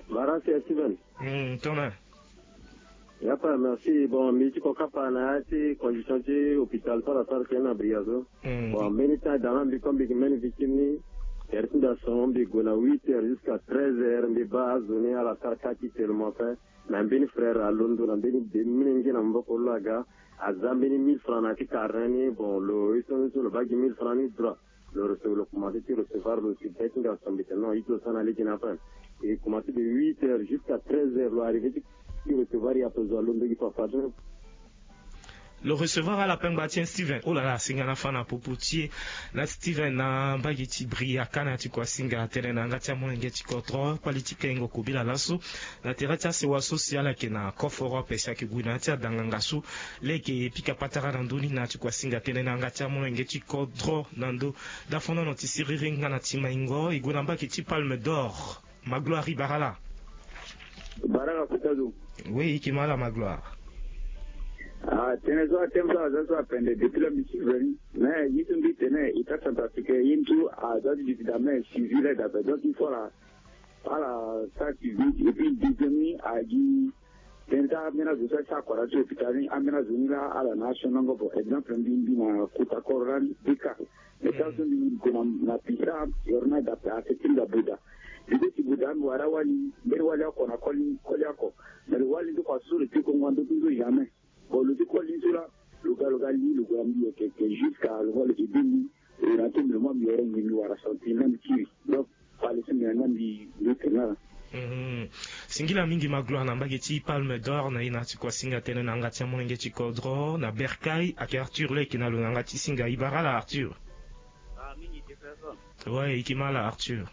Bara si Steven. Hmm, tongana. Ya pa, merci. Bon, mbi ti ko kapa na ya ti condition ti hôpital so ala sara tënë na Bria so. Hmm. Bon, mbeni temps e daa na mbi comme mbi yeke mbeni victime ni, tere ti mbi ason, mbi gue na huit heures jusqu'à treize heures, mbi baa azo ni ala sara kâ ti tellement fait. Na mbeni frère alondo na mbeni de, mbeni ngia na maboko lo aga, aza mbeni mille francs na ya ti carnet ni. Bon, lo ye so ni so lo baa gi mille francs ni droit. Lo rece-, lo commencé ti recevoir, lo si be ti nga so mbi tene non, e ti lo sara na lege na ape. E commencé de huit heures jusqu'à treize heures, lo arrivé ti, ti recevoir e ape, zo alondo gi papa so. Lo recevoir ala pengba ti e Steven. Oh là là, singa na fa na popo ti e. Na Steven na mbage ti Briaka na ti kua singa tënë na yanga ti amolenge ti kodro, kpali ti kengo kobela laso. Na tere ti asewa so si ala yeke na Cof Europe si ayeke gue na ya ti adanganga so. Lege pika patara na ndö ni na ti kua singa tënë na yanga ti amolenge ti kodro na ndö. Dafono ti siriri nga na ti maingo e gue na mbage ti Palme d'Or. Magloire, i bara ala? Bara ala kota zo. Oui, i yeke ma ala Magloire. Ah, tënë so atene so aza so apende depuis la misi veni. Mais ye so mbi tene, état centrafricain ye ni so aza ti duti dame civil dape, donc il faut la ala sara suivi. Et puis deuxième ni agi tënë ti ambeni azo so asara kua na ti hôpital ni, ambeni azo ni laa ala na asionongo. Bon, exemple mbi mbi na kota koro lani deux cas. Mais ka so mbi gue na na puissant, yoro ni adape affecté nga boda. Mbi go ti boda mbi wara wali, mbeni wali oko na koli koli oko. Mais lo wali ni so kua so lo ti kongo ando ti nzo jamais. Bon, lo ti koli ni so laa lo ga lo ga li lo gue na mbi yeke yeke jusqu'à lo va lo ti bi mbi. E na ti mbi lo ma mbi yoro ngi mbi wara santi na mbi kiri. Donc pale so mbi na nga mbi mbi tene ala. Mhm. Singila mingi Magloire na mbage ti Palme d'Or na ye na ti kua singa tënë na yanga ti amolenge ti kodro na Berkay, ayeke Arthur leke na lo na yanga ti singa. I bara ala Arthur? Ah, mingi Jefferson. Ouais, i yeke ma ala Arthur?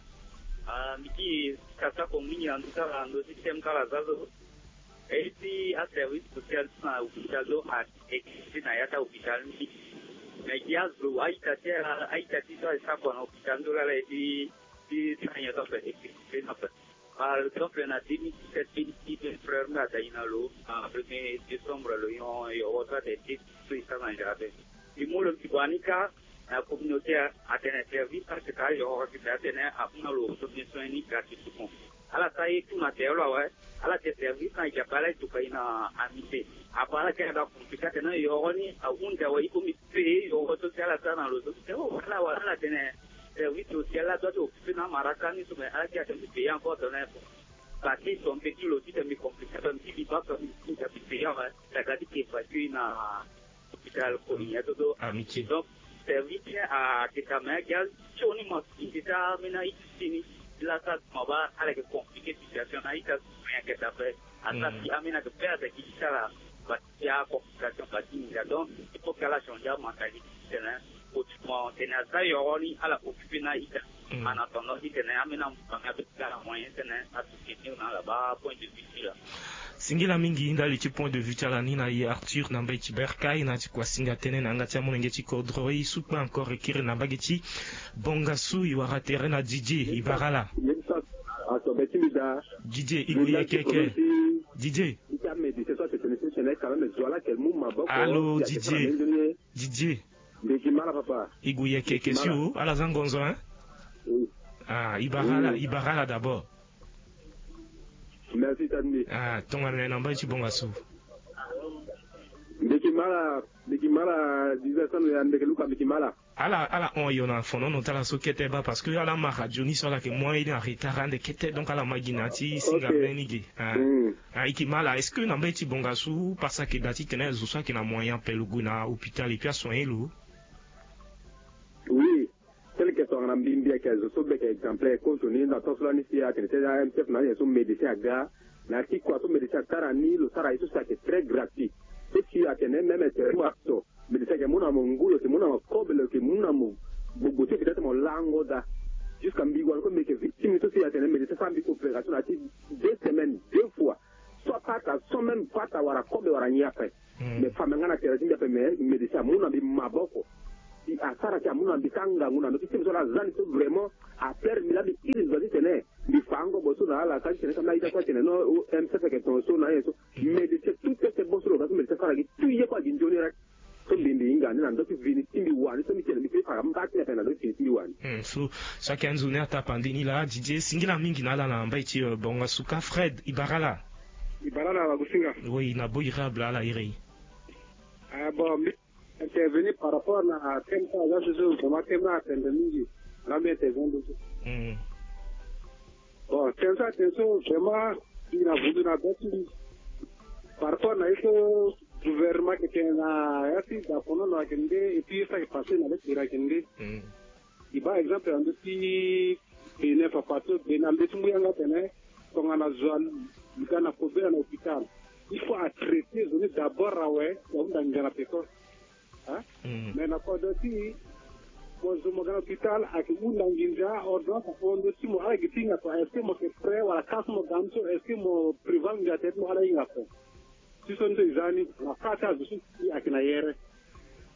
Ah, mbi ti kasa ko mingi na ndö ti ala na ndö ti thème ti ala za so. E ti aservice social ti na hôpital so aexiste na ya ti ahôpital ni. Mais gi azo a-ita ti ala a-ita ti so asara kua na hôpital ni so laa ala ye ti ti ti na nyen so ape existe na ape. Par exemple na deux mille dix-sept, deux mille dix-huit, frère nga ata ina lo na premier décembre lo yon yo wota te ti so isa na jardin. Ti mo lo ti bani ka na communauté atene service parce que yo wota te atene apuna lo so bien soin ni gratuitement. Ala sa ye tout na telo awe. Ala te service na jape ala tuka ina amité. Apa ala ke ada compliqué atene yo ni a un de wa iko mi pe yo so ti ala sa na lo so te o ala wa ala tene service social la doit occuper na maraka ni so mais ala ke atene payer encore tene. Parce que son petit loti te mi compliqué te mi ti bi ba te mi ti bi payer wa. Daga ti ke évacuer na hôpital koni ya toto. Amitié. Donc service ni ayeke ka me agi asioni mo ti ti ti ambeni a-ita ti ni. Ti la sa mo baa ala yeke compliqué situation na a-ita so ayeke dape. Asa si ambeni ayeke perdre gi ti ti ala. Bati ti acomplication bati ni da donc il faut que ala changer amentalité ti tene. Autrement tene aza yoro ni ala occupé na a-ita. En attendant ti tene ambeni amu tanga be ti ala moyen ti tene asoutenir na ala baa point de vue ti ala. Singila mingi ndali ti point de vue ti ala ni na ye Arthur na mbage ti Berkay na ti kua singa tënë na yanga ti amolenge ti kodro. E sukpa encore e kiri na mbage ti Bongassou e wara tere na Didier. I bara ala? Didier, i gue ye keke? Didier. Allô Didier? Didier. Mbi yeke ma ala papa. I gue ye keke si o, ala za ngonzo hein? Ah, i bara ala, i bara ala d'abord. Merci Tanmi. Ah, tongana na mbage ti Bongassou. Mbi yeke ma ala, mbi yeke ma ala, Didier Sano ya mbi yeke luka mbi yeke ma ala. Ala ala hon yo na fonono ti ala so kete baa parce que ala ma radio ni so ala yeke mu aye ni en retard ande kete donc ala ma gi na ya ti singa mbeni ge. Ah, i yeke ma ala, est-ce que na mbage ti Bongassou parce que da ti tene zo so ayeke na moyen ape lo gue na hôpital et puis asoigner lo? Oui. Tel que tongana mbi mbi ayeke zo so mbi yeke exemplaire kozo ni na tongaso lani si atene ti M S F na anyen so médecin aga na ya ti kua so médecin asara ni lo sara ye so si ayeke très gratuit. So si atene même ete wa so médecin ayeke mu na mo ngu, lo yeke mu na mo kobe, lo yeke mu na mo gbogbo ti hôpital ti mo lango daa. Jusqu'à mbi wani kue mbi yeke victime so si atene médecin asara mbi opération na ya ti deux semaines deux fois. Soit pata soit même pata wala kobe wala nyen ape. Mais fa me nga na tere ti mbi ape, mais médecin amu na mbi maboko. Si asara si amu na mbi kâ ngangu na ndö ti temi so ala za ni so vraiment aperdre mbi laa mbi iri ndo ti tene mbi fa angobo so na ala ka ti tene ka mbi na ita so atene non M S F ayeke tongaso na aye so. Médecin tout est bon so lo ga so médecin asara gi tout ye kue agi nzoni rek. So mbi mbi hinga ni na ndö ti vini ti mbi wani so mbi tene mbi fini fa mba ti ni ape na ndö ti vini ti mbi wani. Hmm, so so ayeke anzoni atapandi ni laa Didier, singila mingi na ala na mbai ti, euh, Bonga Suka. Fred, i bara ala? I bara ala wagusinga. Oui, na bo iri abla ala iri. Ah, bon, mbi intervenir par rapport na thème so aza so so vraiment thème ni atene mingi. Nga mbi intervenir dessus. Hmm. Bon, thème so atene so vraiment i na vundu na be ti mbi. Par rapport na ye so gouvernement ayeke tene na ya ti dapono na ayeke nde et puis ye so ayeke passé na be ti iri ayeke nde. Hmm. I baa exemple na ndö ti Bénin, papa so Bénin na mbeti ngu yanga atene tongana zo aga na kobela na hôpital. Il faut atraiter zo ni d'abord awe, ahunda nginza na peko. Hein? Mais na kodro ti mo zo mo ga na hôpital, ayeke hunda nginza, ordonnance ahon ndo ti mo, ala gi ti hinga kua. Est-ce que mo yeke prêt wala ka so mo ga ni so, est-ce que mo prévoir nginza tene ti mo ala hinga kua? Ti so ni so e za ni na fa ti azo so si ayeke na yere.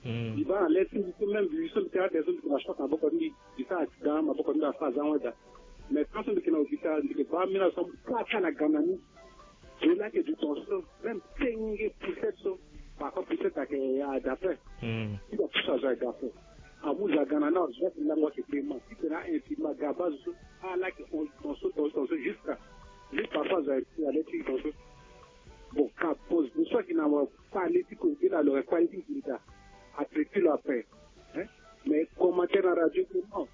Mbi baa na le ti mbi so, même mbi so mbi tene atene so mbi yeke na choc na maboko ti mbi, mbi sara accident, maboko ti mbi afa azia ango daa. Mais tant so mbi yeke na hôpital, mbi yeke baa ambeni azo so amu kâ kâ na ga na ni. Zo laa ayeke du tension, même tenge poussette so. Parfois poussette ayeke ya d'après. Ti ba pousse azo ya d'après. Amu zo aga na ni, azo so ayeke lango ayeke pema. Titene a-infirmier aga baa zo so, ala yeke hon tension, tension, tension jusqu'à, ni parfois azo ayeke ti na le ti tension. Bon, ka pose zo so ayeke na kpale ti kobela, lo yeke kpale ti nginza, atraiter lo ape. Hein? Mais commentaire na radio ke non.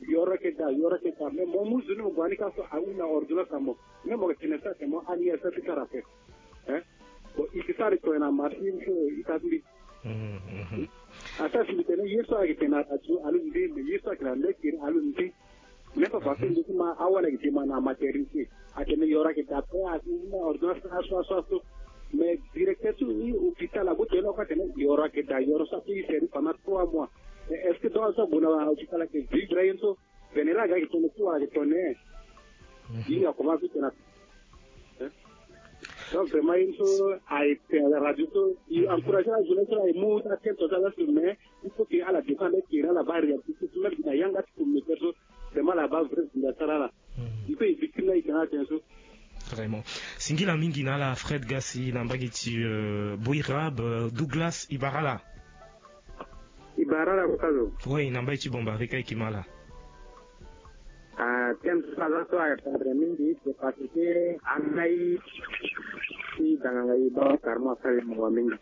Yoro ayeke daa, yoro ayeke daa. Mais mo mu zo ni mo gue na ni kâ so, ahunda ordonnance na mo. Même mo yeke tene so atene mo ani ya so ti kara ape. Hein? Bon, e yeke sara tongana marché so ita ti mbi. Ata si mbi tene ye so ayeke tene na radio alondo nde, mais ye so ayeke na le kiri alondo nde. Même pas parce que nde ti ma awali ayeke ti ma na maternité. Atene yoro ayeke daa ape, atene ordonnance aso aso aso. Mais directeur ti hôpital ague tene oko atene yoro ayeke daa, yoro so ape e sere pendant trois mois. Mais est-ce que donc so ague na hôpital ayeke vivre aye ni so? Tene laa aga ayeke tene ti wala ayeke tene. Ye ni akomanse ti tene ape. Hein? Donc vraiment ye ni so ayeke tene na radio so, e encourager la jeunesse so la e mu ti atene tongaso, mais il faut que ala défendre kiri, ala baa réalité so, même na yanga ti communautaire so, vraiment ala baa vrai zinga ti ala. Il faut e victime la e tene atene so. Vraiment. Singila mingi na ala Fred Gassi na mbage ti, euh, Boirab, euh, Douglas, e bara ala. E bara ala kota zo. Oui, na mbage ti Bombari ka e yeke ma ala. Ah, thème so aza so ayeke tendre mingi, c'est parce que andai ti danganga e baa carrément asara e mawa mingi.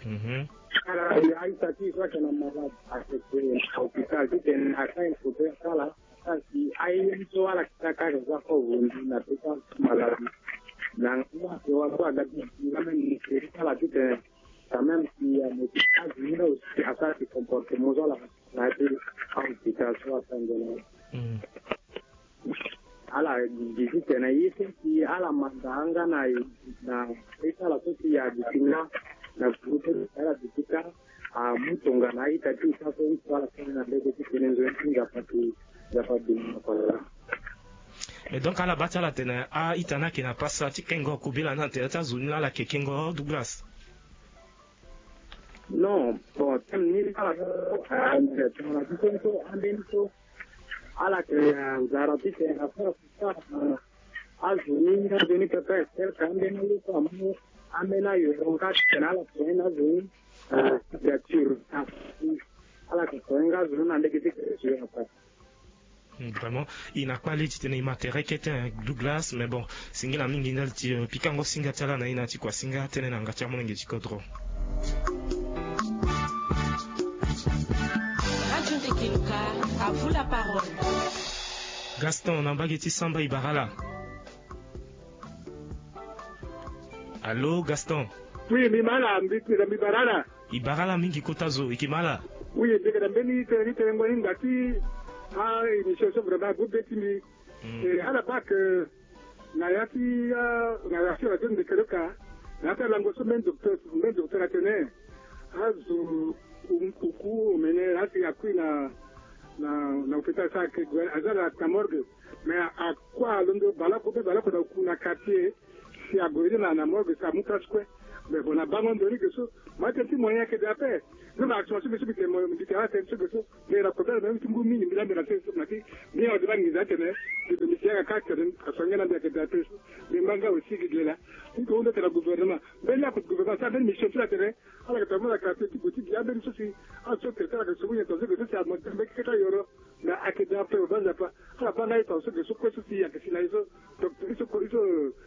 Mhm. Ala, a-ita ti e so ayeke na malade, ayeke na hôpital titene asara e kobe asara. Kasi aye ni so ala kita kâ ayeke za fort, vundi na peka maladie. Na nga so ayeke wara so aga ti zi nga même ministre ti ala titene quand même si amoto azi ni nga aussi asara ti comportement so ala na ya ti ahôpital so asara nzoni. Mm. Ala gi titene ye so si ala manda nga na, na ye ti ala so si aduti nga na groupe ti ala duti kâ. Amu tongana a-ita ti e so aso ni so ala sara na lege ti tene nzoni ti Nzapa ti, Nzapa abima na kodro laa. Mais donc ala baa ti ala atene a-ita ni ayeke na pasa ti kengo kobela ni na tere ti azo ni laa ala yeke kengo Douglas? Non, bon, thème ni ala so, ah, tongana ti so ni so ambeni so ala yeke na nzara titene asara Azo ni nga nzoni pepe, tel que ambeni alo so amu ambeni ayoro nga titene ala soigner azo ni, ah, signature. Ah, ala yeke soigner nga azo ni na lege ti signature ape. Hmm, vraiment, e na kpale titene e ma tere kete, hein, Douglas, mais bon, singila mingi ndali ti, euh, pikango singa ti ala na e na ya ti kuasinga, tënë na yanga ti amolenge ti kodro. Radio Ndeke Luka, à vous la parole. Gaston na mbage ti samba, e bara ala. Allô, Gaston? Oui, mbi ma ala, mbi, mbi bara ala. E bara ala mingi kota zo, e yeke ma ala. Oui, mbi yeke na mbeni tene, ni tene ngoi ni ngba ti a-émission so, vraiment ague be ti mbi. Hmm. E ala baa ke na ya ti, ah, na ya ti radio Ndeke Luka, na ya ti alango so mbeni docteur, mbeni docteur atene azo oku omene, asi akui na, na, na hôpital, so ayeke gue aza na morgue. Mais a, akua alondo baleoko, be baleoko na oku na quartier. Si ague ni na, na morgue, si amu place kue. Mais bon, na bango ndo ni ge so, ma tene ti moyen ayeke daa ape. Ni na action so mbi so mbi tene, mbi tene atene so ge so. Mbi na kota na mbi ti ngu mingi, mbi laa mbi na tene so na ti, mbi na ode na nginza atene mbi, mbi si yanga kâ atene aso ange na mbi ayeke daa ape so. Mbi ma nga aussi gi gi laa. Mbi hunda tene na gouvernement, mbeni ako ti gouvernement asara mbeni mission ti lo atene ala yeke tene mo na quartier ti gue ti gi ambeni so si azo so traité ala yeke soigner tene so ge so si amoto mbeni keke ti ayoro. Mais ayeke daa ape, baba Nzapa, ala baa nga e tene so ge so kue so si ayeke si na e so, donc e so, e so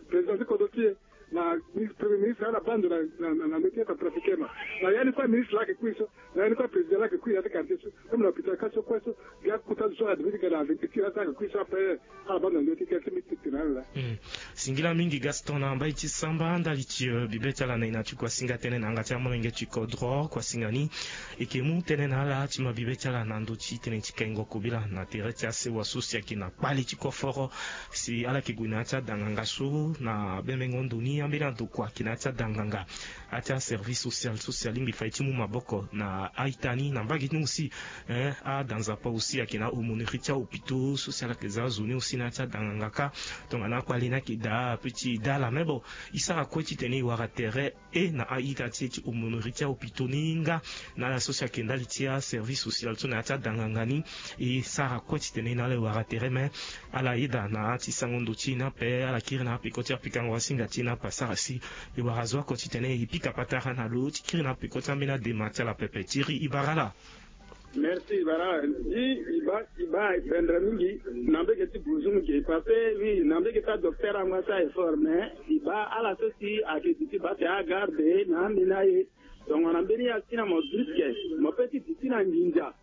président ti kodro ti e. Na ministre, premier ministre ala baa ndo na, na, na, na métier ti atrafiquer ma. Na ya ni kue ministre laa ayeke kui so, na ya ni kue président laa ayeke kui na ya ti quartier so, même na hôpital kâ so kue so, bia kota zo so ala devait ti ga na agriculture laa so ayeke kui so ape, ala baa ndo na ndö ti quartier so mbi tene na ala laa. Hmm. Singila mingi Gaston na mbai ti samba ndali ti, euh, bibe ti ala na e na ti kuasinga tënë na yanga ti amolenge ti kodro. Kuasinga ni e yeke mu tënë na ala ti ma bibe ti ala na ndö ti tënë ti kengo kobela na tere ti asewa so si ayeke na kpale ti koforo. Si ala yeke gue na ya ti adanganga so na bembengo ndo ni. Ambeni andokua ayeke na ya ti adanganga, ya ti aservice social so si alingbi fai ti mu maboko na a-ita ni na mbage ti ni aussi. Adanzapa aussi ayeke na aumônerie ti ahôpital so si ala yeke za azo ni aussi na ya ti adanganga kâ. Tongana akpale ni ayeke daa ape ti e daa ala me bon, e sara kue titene e wara tere e na a-ita ti e ti aumônerie ti ahôpital ni nga na ala so si ayeke ndali ti aservice social so na ya ti adanganga ni. E sara kue titene e na ala e wara tere me ala yeda na ya ti sango ndo ti e ni ape ala kiri na apeko ti apikango asinga ti e ni ape asara si e wara zo oko titene e pika patara na lo ti kiri na apeko ti ambeni adema ti ala pepe. Thierry, e bara ala. Merci bara. Ndi e ba e ba bendre mingi na mbege ti buzu mingi parce que oui na mbege ti adocteur ango asa effort mais e ba ala so si ayeke duti baa te agarde na ambeni aye. Tongana mbeni ya ti na mo briske mo pe ti duti na nginza.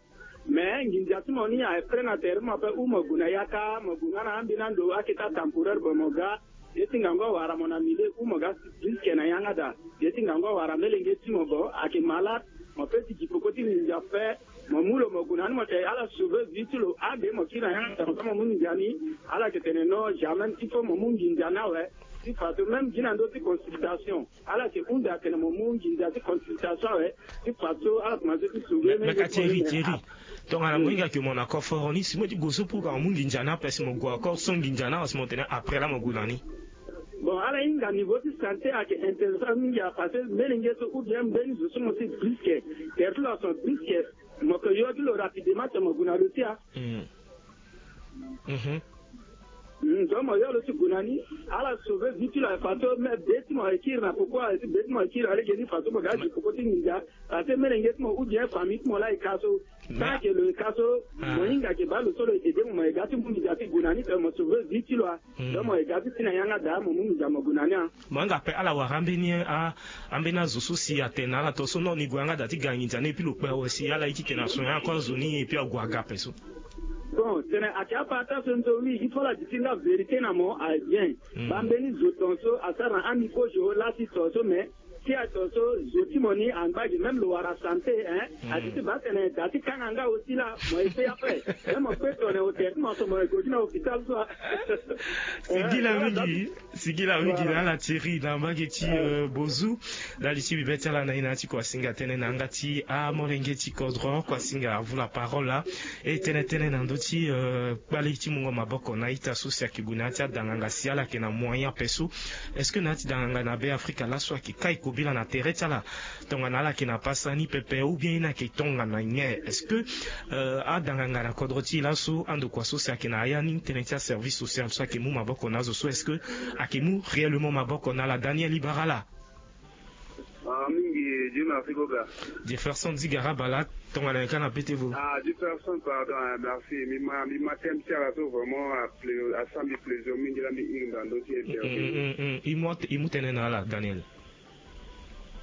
Mais nginza ti mo ni aye prêt na tere ti mo ape ou mo gue na yaka mo gue nga na ambeni ando ake ti atemporaire bon mo ga. Ye ti ngangu awara mo na milieu ou mo ga briske na yanga daa. Ye ti ngangu awara melenge ti mo bon ayeke malade. Mo pe ti gi peko ti nginza fe. Mo mu lo mo gue na ni mo te ala sauver vie ti lo age mo kiri na yanga daa mo mu nginza ni. Ala yeke tene non jamais il faut mo mu nginza ni awe. Ti fato même gi na ndö ti consultation. Ala yeke hunda atene mo mu nginza ti consultation awe. Ti faso ala komanse ti sauver me ka thierry thierry. Tongana mo hinga ke mo na koforo ni si mo ti gue so pour ka mo mu nginza ni ape si mo gue encore so nginza ni awe si mo tene après laa mo gue na ni. Bon ala hinga niveau ti santé ayeke intéressant mingi a parce que mbeni nge so ou bien mbeni zo so mo si briske. Tere ti lo ason briske. Mo ke yo ti lo rapidement si mo gue na lo ti a. Donc mo yo lo ti gue na ni. Ala sauver vie ti lo aye faso mais be ti mo aye kiri na poko aye ti be ti mo aye kiri alege ni faso mo ga gi poko ti nginza. Parce que melenge ti mo ou bien famille ti mo laa e ka so. Tant que lo e ka so mo hinga ke baa lo so lo e aide mo mo ye ga ti mu nginza ti gue na ni pe mo sauver vie ti lo a. Donc mo ye ga ti si na yanga daa mo mu nginza mo gue na ni a. Mo yanga ape ala wara ambeni a ambeni azo so si atene na ala tongaso non ni gue yanga daa ti ga nginza ni epui lo kpe awe si ala ye ti tene aso yanga kue azo ni epui ague aga ape so. Bon tene ayeke apara ti aso nzo oui il faut la di ti nga vérité na mo aye bien. Baa mbeni zo tongaso asara na ami kozo laa ti tongaso mais si aye tongaso zo ti mo ni angba gi même lo wara santé. Adi ti baa tene daa ti kanga nga aussi laa mo ye pe ape. Même mo pe tone hotel ti mo so mo ye go gi na hôpital so a. Sigi la mingi. Sigi la mingi na ala thierry na mbage ti bozu. Ndali ti bibe ti ala na ye na ya ti kuasinga tënë na yanga ti amolenge ti kodro kuasinga avu la parole laa. E tënë tënë na ndö ti kpale ti mungo maboko na ita so si ayeke gue na ya ti adanganga si ala yeke na moyen ape so? Est-ce que na ya ti danganga na be afrika laso ayeke kai kobila na tere ti ala? Tongana ala yeke na pasa ni pepe ou bien ye ni ayeke tongana nyen? Est-ce que adanganga na kodro ti e laso andokua so si ayeke na ya ni tënë ti aservice social so ayeke mu maboko na azo so est-ce que ayeke mu réellement maboko na ala daniel ibara ala? Mingi dieu merci goga. Jefferson zigaraba laa tongana nyen kâ na pete vo? Ah jefferson pardon merci mbi ma mbi ma teme ti ala so vraiment asara mbi plaisir mingi laa mbi iri na ndö ti interview. I mu tënë na ala daniel.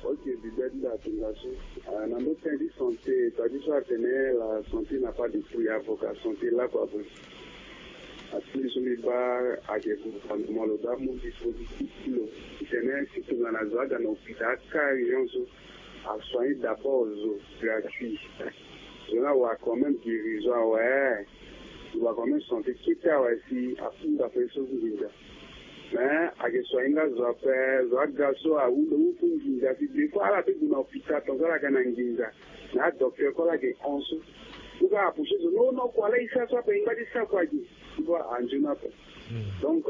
Ok, bibe ti da atinga so na ndö tënë ti santé, tadi so atene la santé na pas de prix avoka santé lakua boye. Atindi so mbi baa ayeke gouvernement lo daa mu dispositif ti lo ti tene si tongana zo aga na hôpital aka urgence so asoigner d'abord zo gratuit. Zo ni awara quand même guérison awe. Lo wara quand même santé kete awe si afunda pe so nginza. Mais ayeke soigner nga zo ape. Zo aga so ahunda mu fu nginza si des fois ala pe gue na hôpital tongaso ala ga na nginza. Mais adocteur kue ala yeke hon so. Ou ka apoucher zo non non kua la e sara so ape e ngba ti sara kua gi. Tu vois anzoni ape. Donc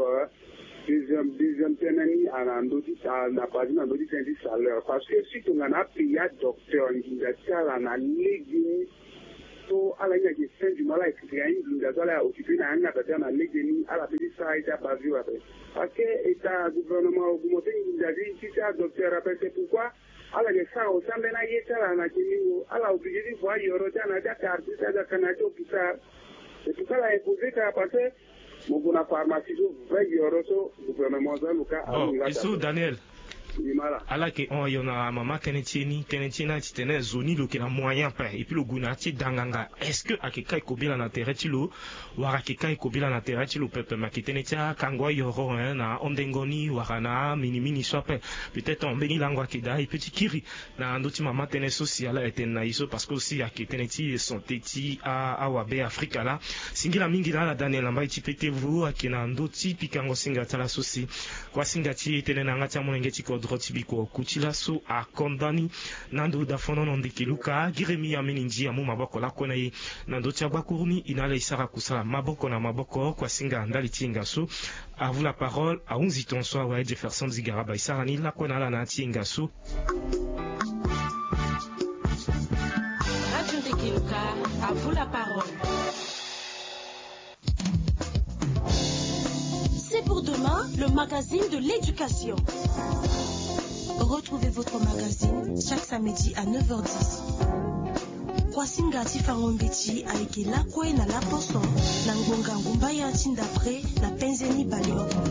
deuxième deuxième tënë ni ana ndö ti ana base na ndö ti tënë ti salaire parce que si tongana apayer adocteur nginza ti ala na lege ni. So ala hinga ke fin du mois ala récupérer aye nginza so ala ya occuper na yanga daa ti ala na lege ni ala pe ti sara aye ti abavure ape. Parce que état gouvernement augmenter nginza ti ti adocteur ape c'est pourquoi ala ke sara aussi ambeni aye ti ala na kemingo ala obligé ti vo ayoro ti ala na ya ti akartier ti ala ti aka na ya ti hôpital. C'est pourquoi ala imposer kaka parce que mo gue na pharmacie so vingt euros so gouvernement so aloka. Bon e so daniel. Ala yeke hon ayo na mama tënë ti e ni, tënë ti e ni ati tene zo ni lo yeke na moyen ape et puis lo gue na ya ti e danganga. Est-ce que ayeke kai kobela na tere ti lo? Wala ayeke kai kobela na tere ti lo pepe me ayeke tënë ti akango ayoro na ahondengo ni wala na aminimini so ape. Peut-être mbeni lango ayeke daa e pe ti kiri na ndö ti mama tënë so si ala etene na e so parce que aussi ayeke tënë ti santé ti awabe afrika laa. Singila mingi na ala daniel na mbai ti petevo ayeke na ndö ti pikango singa ti ala so si kuasinga ti e tënë na yanga ti amolenge ti kodro ti bikua oku ti laso akonda ni. Na ndo dafonono ndeke luka giremi ameni nzi amu maboko lakue na e na ndo ti agbakuru ni e na ala e sara kusala maboko na maboko kuasinga ndali ti hinga so. Avu la parole ahunzi ton so awe jefferson zigaraba e sara ni lakue na ala na ya ti hinga so. Radio ndeke luka avu la parole. C'est pour demain, le magazine de l'éducation. Retrouvez votre magazine chaque samedi à neuf heures dix. Kuasinga ti fango mbeti ayeke lakue na laposo na ngbonga ngumbaya ti ndapre na penze ni baleoko.